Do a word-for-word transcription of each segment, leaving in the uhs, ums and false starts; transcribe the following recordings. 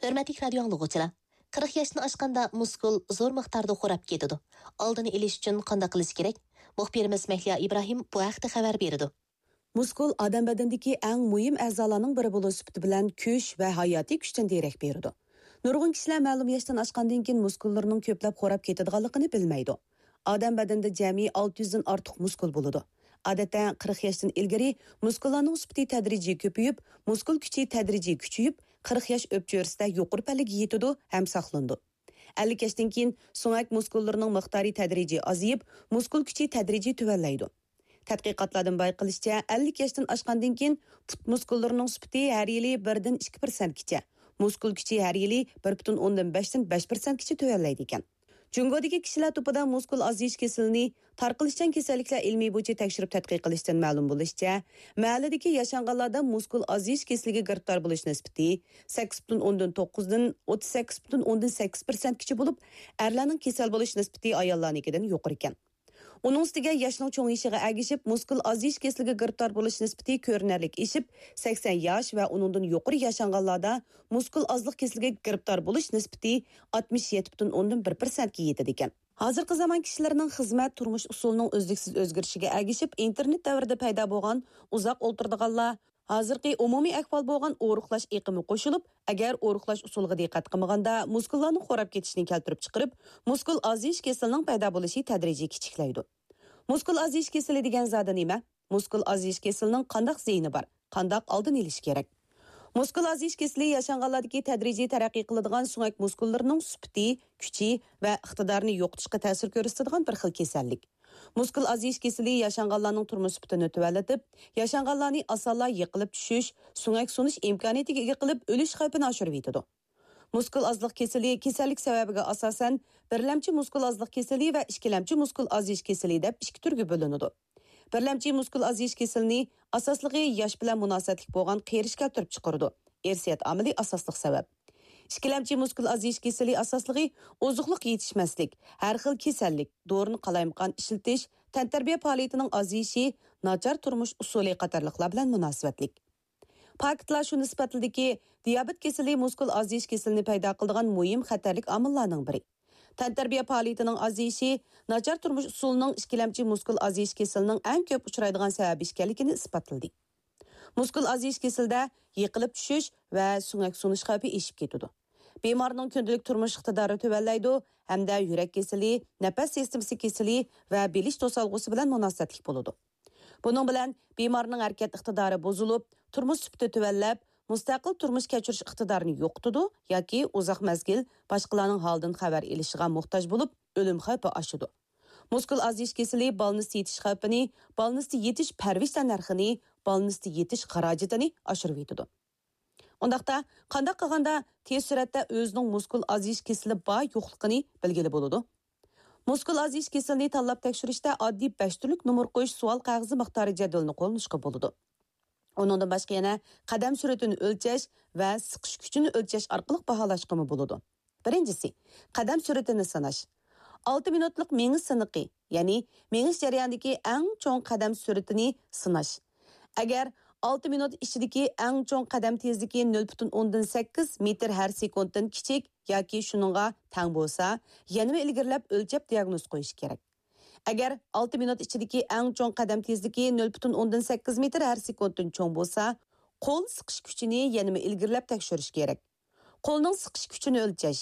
ھۆرمەتلىك رادىيو ئاڭلىغۇچىلار! قىرىق ياشتىن ئاشقاندا مۇسكۇل زور مىقداردا خوراپ كېتىدۇ. ئالدىنى ئېلىش ئۈچۈن قانداق قىلىش كېرەك؟ مۇخبىرىمىز مەھلىيا ئىبراھىم بۇ ھەقتە خەۋەر بېرىدۇ. مۇسكۇل ئادەم بەدىنىدىكى ئەڭ مۇھىم ئەزالارنىڭ بىرى بولۇش سۈپىتى بىلەن كۈچ ۋە ھاياتىي كۈچتىن دېرەك بېرىدۇ. نۇرغۇن كىشىلەر مەلۇم ياشتىن ئاشقاندىن كېيىن مۇسكۇللىرىنىڭ كۆپلەپ خوراپ كېتىدىغانلىقىنى بىلمەيدۇ. ئادەم بەدىنىدە جەمئىي ئالتە يۈزدىن ئارتۇق مۇسكۇل بولىدۇ. ئادەتتە قىرىق ياشتىن ئىلگىرى مۇسكۇللارنىڭ سۈپىتى تەدرىجىي كۆپىيىپ، مۇسكۇل كۈچى تەدرىجىي كۈچىيىپ، قىرىق ياش ئۆپچۆرىسىدە يۇقىرى پەللىگە يېتىدۇ ھەم ساقلىنىدۇ. ئەللىك ياشتىن كېيىن سۆڭەك مۇسكۇللىرىنىڭ مىقدارى تەدرىجىي ئازىيىپ، مۇسكۇل كۈچى تەدرىجىي تۆۋەنلەيدۇ. تەتقىقاتلاردىن بايقىلىشىچە، ئەللىك ياشتىن ئاشقاندىن كېيىن پۇت مۇسكۇللىرىنىڭ سۈپىتى ھەر يىلى بىردىن ئىككى پىرسەنتكىچە، مۇسكۇل كۈچى ھەر يىلى بىر پۈتۈن ئوندىن بەشتىن بەش پىرسەنتكىچە تۆۋەنلەيدىكەن. جۇڭگودىكى كىشىلەر توپىدا مۇسكۇل ئازىيىش كېسىلىنى تارقىلىشچان كېسەللىكلەر ئىلمىي بويىچە تەكشۈرۈپ تەتقىق قىلىشتىن مەلۇم بولۇشىچە، مەھەللىدىكى ياشانغانلاردا مۇسكۇل ئازىيىش كېسىلىگە گىرىپتار بولۇش نىسبىتى سەككىز پۈتۈن ئوندىن توققۇزدىن ئوتتۇز سەككىز پۈتۈن ئوندىن سەككىز پىرسەنتكىچە بولۇپ، ئەرلەرنىڭ كېسەل بولۇش نىسبىتى ئاياللارنىڭكىدىن يۇقىرىكەن. ئۇنىڭ ئۈستىگە ياشنىڭ چوڭىيىشىغا ئەگىشىپ، مۇسكۇل ئازىيىش كېسىلىگە گىرىپتار بولۇش نىسبىتى كۆرۈنەرلىك ئېشىپ، سەكسەن ياش ۋە ئۇنىڭدىن يۇقىرى ياشانغانلاردا مۇسكۇل ئازلىق كېسىلىگە گىرىپتار بولۇش نىسبىتى ئاتمىش يەتتە پۈتۈن ئوندىن بىر پىرسەنتكە يېتىدىكەن. ھازىرقى زامان كىشىلىرىنىڭ خىزمەت، تۇرمۇش ئۇسۇلىنىڭ ئۈزلۈكسىز ئۆزگىرىشىگە ئەگىشىپ، ئىنتېرنېت دەۋرىدە پەيدا بولغان ئۇزاق ئولتۇرىدىغانلار، ھازىرقى ئومۇمىي ئەھۋال بولغان ئورۇقلاش ئېقىمى قوشۇلۇپ، ئەگەر ئورۇقلاش ئۇسۇلىغا دىققەت قىلمىغاندا، مۇسكۇللارنىڭ خوراپ كېتىشىنى كەلتۈرۈپ چىقىرىپ، مۇسكۇل ئازىيىش كېسىلىنىڭ پەيدا بولۇشى تەدرىجىي كىچىكلەيدۇ. مۇسكۇل ئازىيىش كېسىلى دېگەن زادى نېمە؟ مۇسكۇل ئازىيىش كېسىلىنىڭ قانداق زىيىنى بار؟ قانداق ئالدىنى ئېلىش كېرەك؟ مۇسكۇل ئازىيىش كېسىلى ياشانغانلاردىكى تەدرىجىي تەرەققىي قىلىدىغان سۆڭەك مۇسكۇللىرىنىڭ سۈپىتى، كۈچى ۋە ئىقتىدارىنى يوقىتىشقا تەسىر كۆرسىتىدىغان بىر خىل كېسەللىك. مۇسكۇل ئازىيىش كېسىلى ياشانغانلارنىڭ تۇرمۇش سۈپىتىنى تۆۋەنلىتىپ، ياشانغانلارنى ئاسانلا يىقىلىپ چۈشۈش، سۆڭەك سۇنۇش ئىمكانىيىتىگە ئىگە قىلىپ، ئۆلۈش خەۋپىنى ئاشۇرۇۋېتىدۇ. مۇسكۇل ئازلىق كېسىلى كېسەللىك سەۋەبىگە ئاساسەن، بىرلەمچى مۇسكۇل ئازلىق كېسىلى ۋە ئىككىلەمچى مۇسكۇل ئازىيىش كېسىلى دەپ ئىككى تۈرگە بۆلۈنىدۇ. بىرلەمچى مۇسكۇل ئازىيىش كېسىلىنى ئاساسلىقى ياش بىلەن مۇناسىۋەتلىك بولغان قېرىش كەلتۈرۈپ چىقىرىدۇ. ئىرسىيەت ئامىلى ئاساسلىق سەۋەب. ئىككىلەمچى مۇسكۇل ئازىيىش كېسىلى ئاساسلىقى ئوزۇقلۇق يېتىشمەسلىك، ھەر خىل كېسەللىك، دورىنى قالايمىقان ئىشلىتىش، تەنتەربىيە پائالىيىتىنىڭ ئازىيىشى، ناچار تۇرمۇش ئۇسۇلى قاتارلىقلار بىلەن مۇناسىۋەتلىك. پاكىتلار شۇنى ئىسپاتلىدىكى، دىيابېت كېسىلى مۇسكۇل ئازىيىش كېسىلىنى پەيدا قىلىدىغان مۇھىم خەتەرلىك ئامىللارنىڭ بىرى. تەنتەربىيە پائالىيىتىنىڭ ئازىيىشى ناچار تۇرمۇش ئۇسۇلىنىڭ ئىككىلەمچى مۇسكۇل ئازىيىش كېسىلىنىڭ ئەڭ كۆپ ئۇچرايدىغان سەۋەبى ئىكەنلىكىنى ئىسپاتلىدى. مۇسكۇل ئازىيىش كېسىلىدە يىقىلىپ چۈشۈش ۋە سۆڭەك سۇنۇش خەۋپى ئېشىپ كېتىدۇ. بىمارنىڭ كۈندىلىك تۇرمۇش ئىقتىدارى تۆۋەنلەيدۇ ھەمدە يۈرەك كېسىلى، نەپەس سىستېمىسى كېسىلى ۋە بىلىش توسالغۇسى بىلەن مۇناسىۋەتلىك بولىدۇ. بۇنىڭ بىلەن بىمارنىڭ ھەرىكەت ئىقتىدارى بۇزۇلۇپ، تۇرمۇش سۈپىتى تۆۋەنلەپ، مۇستەقىل تۇرمۇش كەچۈرۈش ئىقتىدارىنى يوقىتىدۇ ياكى ئۇزاق مەزگىل باشقىلارنىڭ ھالىدىن خەۋەر ئېلىشىغا موھتاج بولۇپ، ئۆلۈم خەۋپى ئاشىدۇ. مۇسكۇل ئازىيىش كېسىلى بالنىستتا يېتىش خەۋپىنى، بالنىستتا يېتىش پەرۋىش تەننەرخىنى، بالنىستتا يېتىش خىراجىتىنى ئاشۇرۇۋېتىدۇ. ئۇنداقتا، قانداق قىلغاندا تېز سۈرئەتتە ئۆزىنىڭ مۇسكۇل ئازىيىش كېسىلى بار يوقلۇقىنى بىلگىلى بولىدۇ؟ مۇسكۇل ئازىيىش كېسىلىنى تاللاپ تەكشۈرۈشتە ئاددىي بەش تۈرلۈك نومۇر قويۇش سوئال قەغىزى مىقدارى جەدۋىلىنى قوللىنىشقا بولىدۇ. ئۇنىڭدىن باشقا يەنە قەدەم سۈرئىتىنى ئۆلچەش ۋە سىقىش كۈچىنى ئۆلچەش ئارقىلىق باھالاشقىمۇ بولىدۇ. بىرىنچىسى، قەدەم سۈرئىتىنى سىناش. ئالتە مىنۇتلۇق مېڭىش سىنىقى، يەنى مېڭىش جەريانىدىكى ئەڭ چوڭ قەدەم سۈرئىتىنى سىناش. ئەگەر ئالتە مىنۇت ئىچىدىكى ئەڭ چوڭ قەدەم تېزلىكى نۆل پۈتۈن ئوندىن سەككىز مېتىر ھەر سېكۇنتتىن كىچىك ياكى شۇنىڭغا تەڭ بولسا، يەنىمۇ ئىلگىرىلەپ ئۆلچەپ دىياگنوز قويۇش كېرەك. ئەگەر ئالتە مىنۇت ئىچىدىكى ئەڭ چوڭ قەدەم تېزلىكى نۆل پۈتۈن ئوندىن سەككىز مېتىر ھەر سېكۇنتتىن چوڭ بولسا، قول سىقىش كۈچىنى يەنىمۇ ئىلگىرىلەپ تەكشۈرۈش كېرەك. قولنىڭ سىقىش كۈچىنى ئۆلچەش.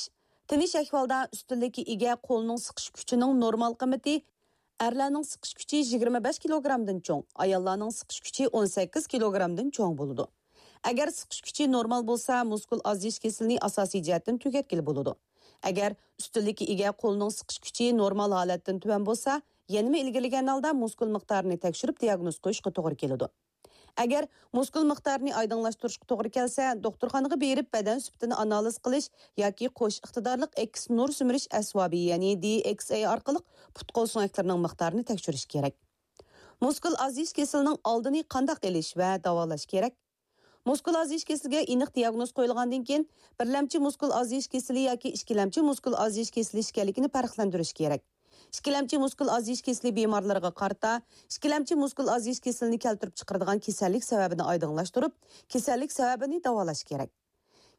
تىنچ ئەھۋالدا ئۈستۈنلۈككە ئىگە قولنىڭ سىقىش كۈچىنىڭ نورمال قىممىتى ئەرلەرنىڭ سىقىش كۈچى يىگىرمە بەش كىلوگرامدىن چوڭ، ئاياللارنىڭ سىقىش كۈچى ئون سەككىز كىلوگرامدىن چوڭ بولىدۇ. ئەگەر سىقىش كۈچى نورمال بولسا، مۇسكۇل ئازىيىش كېسىلىنى ئاساسىي جەھەتتىن تۈگەتكىلى بولىدۇ. ئەگەر ئۈستۈنلۈككە ئىگە قولنىڭ سىقىش كۈچى نورمال ھالەتتىن تۆۋەن بولسا، يەنىمۇ ئىلگىرىلىگەن ھالدا مۇسكۇل مىقدارىنى تەكشۈرۈپ دىياگنوز قويۇشقا توغرا كېلىدۇ. ئەگەر مۇسكۇل مىقدارىنى ئايدىڭلاشتۇرۇشقا توغرا كەلسە، دوختۇرخانىغا بېرىپ بەدەن سۈپىتىنى ئانالىز قىلىش ياكى قوش ئىقتىدارلىق ئەكس نۇر سۈمۈرۈش ئەسۋابى، يەنى دى ئېكس ئەي ئارقىلىق پۇت-قول سۆڭەكلىرىنىڭ مىقدارىنى تەكشۈرۈش كېرەك. مۇسكۇل ئازىيىش كېسىلىنىڭ ئالدىنى قانداق ئېلىش ۋە داۋالاش كېرەك؟ مۇسكۇل ئازىيىش كېسىلىگە ئېنىق دىياگنوز قويۇلغاندىن كېيىن، بىرلەمچى مۇسكۇل ئازىيىش كېسىلى ياكى ئىككىلەمچى مۇسكۇل ئازىيىش كېسىلى ئىكەنلىكىنى پەرقلەندۈرۈش كېرەك. ئىككىلەمچى مۇسكۇل ئازىيىش كېسىلى بىمارلىرىغا قارىتا، ئىككىلەمچى مۇسكۇل ئازىيىش كېسىلىنى كەلتۈرۈپ چىقىرىدىغان كېسەللىك سەۋەبىنى ئايدىڭلاشتۇرۇپ، كېسەللىك سەۋەبىنى داۋالاش كېرەك.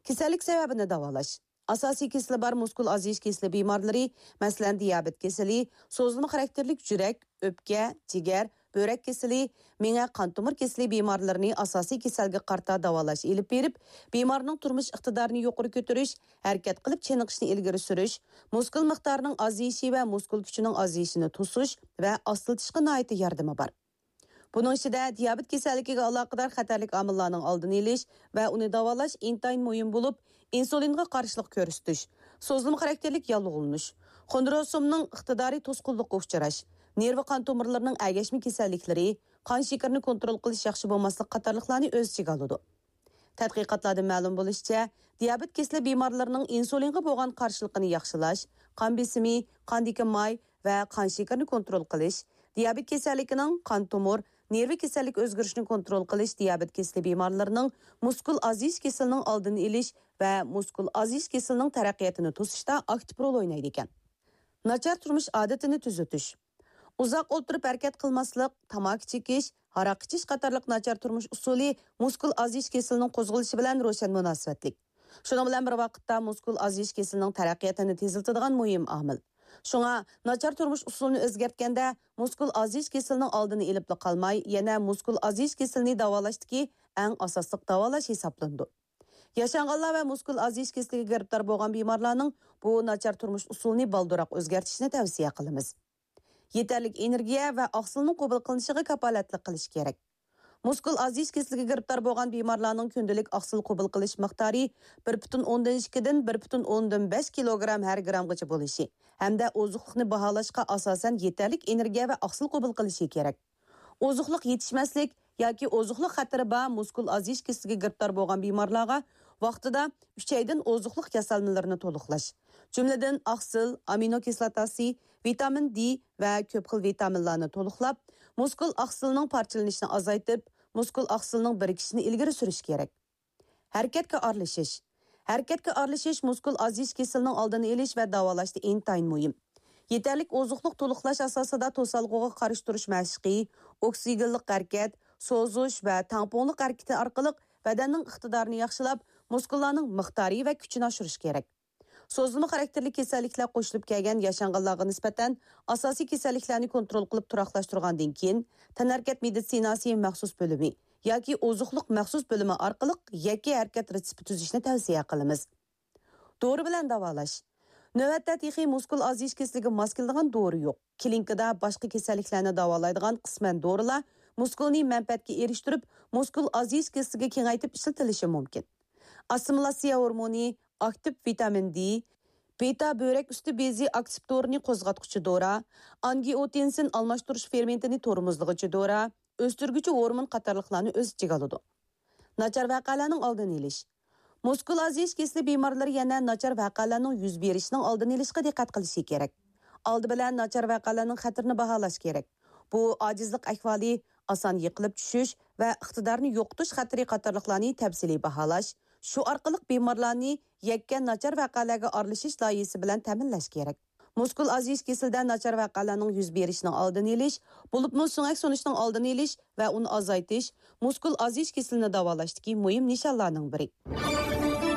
كېسەللىك سەۋەبىنى داۋالاش. ئاساسىي كېسىلى بار مۇسكۇل ئازىيىش كېسىلى بىمارلىرى، مەسىلەن، دىيابېت كېسىلى، سوزۇلما خاراكتېرلىك يۈرەك، ئۆپكە، جىگەر، بۆرەك كېسىلى، مېڭە، قان تومۇر كېسىلى بىمارلىرىنى ئاساسىي كېسەلگە قارىتا داۋالاش ئېلىپ بېرىپ، بىمارنىڭ تۇرمۇش ئىقتىدارىنى يۇقىرى كۆتۈرۈش، ھەرىكەت قىلىپ چېنىقىشنى ئىلگىرى سۈرۈش، مۇسكۇل مىقدارىنىڭ ئازىيىشى ۋە مۇسكۇل كۈچىنىڭ ئازىيىشىنى توسۇش ۋە ئاستىلىتىشقا ناھايىتى ياردىمى بار. بۇنىڭ ئىچىدە دىيابېت كېسەللىكىگە ئالاقىدار خەتەرلىك ئامىللارنىڭ ئالدىنى ئېلىش ۋە ئۇنى داۋالاش ئىنتايىن مۇھىم بولۇپ، ئىنسۇلىنغا قارشىلىق كۆرسىتىش، سوزۇلما خاراكتېرلىك ياللۇغلىنىش، خوندروسومنىڭ ئىقتىدارى توسقۇنلۇققا ئۇچراش، نېرۋا قان تومۇرلىرىنىڭ ئەگەشمە كېسەللىكلىرى، قان شېكىرىنى كونترول قىلىش ياخشى بولماسلىق قاتارلىقلارنى ئۆز ئىچىگە ئالىدۇ. تەتقىقاتلاردىن مەلۇم بولۇشىچە، دىيابېت كېسىلى بىمارلىرىنىڭ ئىنسۇلىنغا بولغان قارشىلىقىنى ياخشىلاش، قان بېسىمى، قاندىكى ماي ۋە قان شېكىرىنى كونترول قىلىش، دىيابېت كېسەللىكىنىڭ قان تومۇر، نېرۋا كېسەللىك ئۆزگىرىشىنى كونترول قىلىش، دىيابېت كېسىلى بىمارلىرىنىڭ مۇسكۇل ئازىيىش كېسىلىنىڭ ئالدىنى ئېلىش ۋە مۇسكۇل ئازىيىش كېسىلىنىڭ تەرەققىياتىنى توسۇشتا ئاكتىپ رول ئوينايدىكەن. ناچار تۇرمۇش ئادىتىنى تۈزىتىش. ئۇزاق ئولتۇرۇپ ھەرىكەت قىلماسلىق، تاماكا چېكىش، ھاراق ئىچىش قاتارلىق ناچار تۇرمۇش ئۇسۇلى مۇسكۇل ئازىيىش كېسىلىنىڭ قوزغىلىشى بىلەن روشەن مۇناسىۋەتلىك. شۇنىڭ بىلەن بىر ۋاقىتتا، مۇسكۇل ئازىيىش كېسىلىنىڭ تەرەققىياتىنى تېزلىتىدىغان مۇھىم ئامىل. شۇڭا، ناچار تۇرمۇش ئۇسۇلىنى ئۆزگەرتكەندە، مۇسكۇل ئازىيىش كېسىلىنىڭ ئالدىنى ئېلىپلا قالماي، يەنە مۇسكۇل ئازىيىش كېسىلىنى داۋالاشتىكى ئەڭ ئاساسلىق داۋالاش ھېسابلىنىدۇ. ياشانغانلار ۋە مۇسكۇل ئازىيىش كېسىلىگە گىرىپتار بولغان بىمارلارنىڭ بۇ ناچار تۇرمۇش ئۇسۇلىنى بالدۇرراق ئۆزگەرتىشىنى تەۋسىيە قىلىمىز. يېتەرلىك ئېنېرگىيە ۋە ئاقسىلنىڭ قوبۇل قىلىنىشىغا كاپالەتلىك قىلىش كېرەك. مۇسكۇل ئازىيىش كېسىلىگە گىرىپتار بولغان بىمارلارنىڭ كۈندىلىك ئاقسىل قوبۇل قىلىش مىقدارى بىر پۈتۈن ئوندىن ئىككىدىن بىر پۈتۈن ئوندىن بەش كىلوگرام ھەر گرامغىچە بولۇشى ھەمدە ئوزۇقلۇقنى باھالاشقا ئاساسەن يېتەرلىك ئېنېرگىيە ۋە ئاقسىل قوبۇل قىلىشى كېرەك. ئوزۇقلۇق يېتىشمەسلىك ياكى ئوزۇقلۇق خەتىرى بار مۇسكۇل ئازىيىش كېسىلىگە گىرىپتار بولغان بىمارلارغا ۋاقتىدا ئۈچەيدىن ئوزۇقلۇق ياسالمىلىرىنى تولۇقلاش، جۈملىدىن ئاقسىل، ئامىنو كىسلاتاسى، ۋىتامىن دې ۋە كۆپ خىل ۋىتامىنلارنى تولۇقلاپ، مۇسكۇل ئاقسىلىنىڭ پارچىلىنىشىنى ئازايتىپ، مۇسكۇل ئاقسىلىنىڭ بىرىكىشىنى ئىلگىرى سۈرۈش كېرەك. ھەرىكەتكە ئارىلىشىش. ھەرىكەتكە ئارىلىشىش مۇسكۇل ئازىيىش كېسىلىنىڭ ئالدىنى ئېلىش ۋە داۋالاشتا ئىنتايىن مۇھىم. يېتەرلىك ئوزۇقلۇق تولۇقلاش ئاساسىدا توسالغۇغا قارشى تۇرۇش مەشىقى، ئوكسىگېنلىق ھەرىكەت، سوزۇش ۋە تەڭپۇڭلۇق ھەرىكىتى ئارقىلىق بەدەننىڭ ئىقتىدارىنى ياخشىلاپ، مۇسكۇللارنىڭ مىقدارى ۋە كۈچىنى ئاشۇرۇش كېرەك. سوزۇلما خاراكتېرلىك كېسەللىكلەر قوشۇلۇپ كەلگەن ياشانغانلارغا نىسبەتەن ئاساسىي كېسەللىكلەرنى كونترول قىلىپ تۇراقلاشتۇرغاندىن كېيىن، تەنھەرىكەت مېدىتسىناسى مەخسۇس بۆلۈمى ياكى ئوزۇقلۇق مەخسۇس بۆلۈمى ئارقىلىق يەككە ھەرىكەت رېتسېپى تۈزۈشنى تەۋسىيە قىلىمىز. دورا بىلەن داۋالاش. نۆۋەتتە تېخى مۇسكۇل ئازىيىش كېسىلىگە ماس كېلىدىغان دورا يوق. كلىنىكىدا باشقا كېسەللىكلەرنى داۋالايدىغان قىسمەن دورىلار مۇسكۇلنى مەنپەئەتكە ئېرىشتۈرۈپ، مۇسكۇل ئازىيىش كېسىلىگە كېڭەيتىپ ئىشلىتىلىشى مۇمكىن. ئاسسىمىلياتسىيە ھورمونى، ئاكتىپ ۋىتامىن دې، بېتا بۆرەك ئۈستى بېزى ئاكتىپ تورىنى قوزغاتقۇچى دورا، ئانگىئوتېنسىن ئالماشتۇرۇش فېرمېنتىنى تورمۇزلىغۇچى دورا، ئۆستۈرگۈچى ھورمون قاتارلىقلارنى ئۆز ئىچىگە ئالىدۇ. ناچار ۋەقەلەرنىڭ ئالدىنى ئېلىش. مۇسكۇل ئازىيىش كېسىلى بىمارلىرى يەنە ناچار ۋەقەلەرنىڭ يۈز بېرىشىنىڭ ئالدىنى ئېلىشقا دىققەت قىلىشى كېرەك. ئالدى بىلەن ناچار ۋەقەلەرنىڭ خەتىرىنى باھالاش كېرەك. بۇ ئاجىزلىق ئەھۋالى، ئاسان يىقىلىپ چۈشۈش ۋە ئىقتىدارنى يوقىتىش خەتىرى قاتارلىقلارنى تەپسىلىي باھالاش، شۇ ئارقىلىق بىمارلارنى يەككە ناچار ۋەقەلەرگە ئارىلىشىش لايىھىسى بىلەن تەمىنلەش كېرەك. مۇسكۇل ئازىيىش كېسىلىدە ناچار ۋەقەلەرنىڭ يۈز بېرىشىنىڭ ئالدىنى ئېلىش، بولۇپمۇ سۆڭەك سۇنۇشنىڭ ئالدىنى ئېلىش ۋە ئۇنى ئازايتىش مۇسكۇل ئازىيىش كېسىلىنى داۋالاشتىكى مۇھىم نىشانلارنىڭ بىرى.